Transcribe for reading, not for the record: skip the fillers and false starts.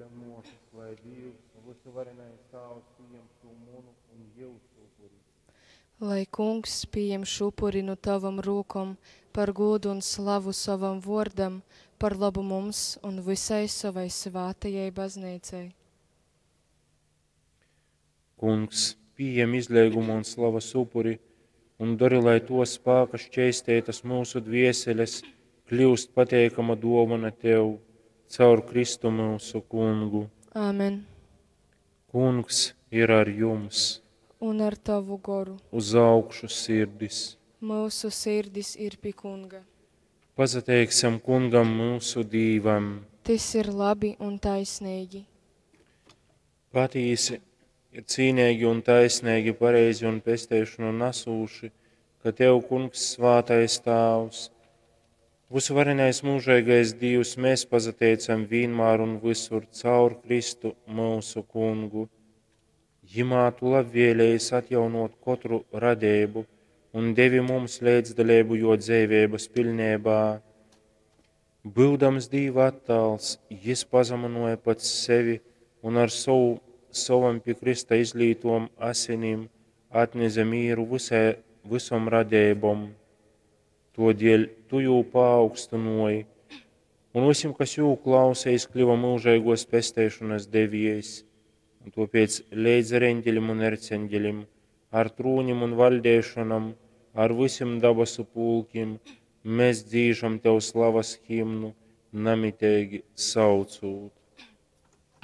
upuļa muosys, lai Dīvs, vysuvarenais Tāvs, pījem šū munu un jyusu upuri. Lai Kungs pījem šū upuri nu tavom rūkom par gūdu un slavu sovam vuordam, par lobu mums un vysai sovai svātajai bazneicai. Kungs, pījem izleiguma un slavas upuri un dori, lai tuo spāka šķeisteitas myusu dvieseles kļiust pateikama duovona Tev caur Kristu myusu Kungu. Āmen. Kungs ir ar jums! Un ar tavu goru. Uz augšu sirdis! Myusu sirdis ir pi Kunga. Pasateiksim Kungam myusu Dīvam! Tys ir labi un taisneigi. Patīsi ir cīneigi un taisneigi, pareizi un pesteišonu nasūši, ka Tev, Kungs, svātais Tāvs, vysuvarenais mūžeigais Dīvs, mēs pasateicam vīnmār un visur caur Kristu myusu Kungu. Jimā Tu labvēlējies atjaunot kotru radeibu un devi mums līdzdaļību jo dzeiveibas pilnībā. Byudams Dīva attāls, jis pazamynuoja pats sevi un ar sovu, sovom pi krysta izlītom asinim atneze mīru visai, visom radeibom. Todēļ tu jū paaugstynoji, un visim, kas jū klausa, jis kļuva mūžīgos pesteišanas deviejs. Un tāpēc leidz ar eņģeļiem un erceņģeļiem, ar trūnim un valdēšanam, ar visiem dabasu pulkim, mēs dzīžam tev slavas himnu, namiteigi saucūt.